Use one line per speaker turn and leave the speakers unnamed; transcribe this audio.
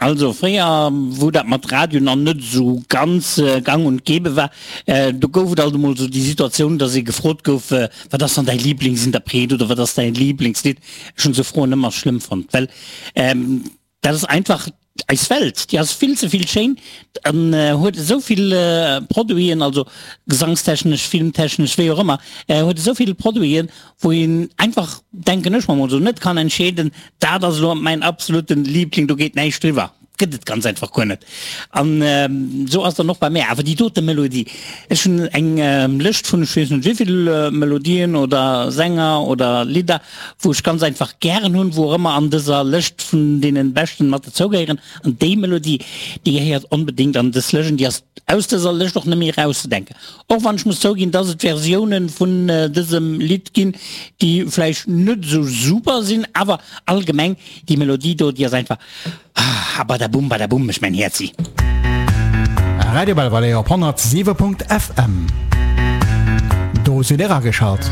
Also fréier, wou dat mat Radio nach net esou ganz gang und gäbe war, do gouf et alt emol esou déi Situatioun, dass ee gefrot gouf, Wat ass dann däi Lieblingsinterpret oder wat ass däi Lieblingslidd? Ech hunn esou Froen ëmmer schlëmm fonnt, well dat ass einfach eis Welt, déi ass vill ze vill schéin an huet esou vill Produiten, also gesangstechnesch, filmtechnesch, wéi och ëmmer, huet esou vill Produiten, wou een einfach, denken ech mer mol esou, net kann entscheeden, dat ass elo mäin absoluten Liebling, do geet näischt driwwer. Gëtt et ganz einfach guer net. An esou ass et dann och bei mär. Awer déi dote Melodie, ech hunn eng Lëscht vun ech weess net wéivill Melodien oder Sänger oder Lidder, wou ech ganz einfach gären hunn, wou och ëmmer an dëser Lëscht vun deene beschten mat dozougehéieren. An déi Melodie, déi gehéiert onbedéngt an dës Lëscht an déi ass aus dëser Lëscht och net méi erauszedenken. Och wann ech muss zouginn, dass et Versiounen vun dësem Lidd ginn, déi vläicht net esou super sinn, awer allgemeng déi Melodie do, déi ass einfach ah badaboum badaboum mécht mäin Häerzi.
Radio Belvalée op 107.fm. Do sidd Dir ageschalt.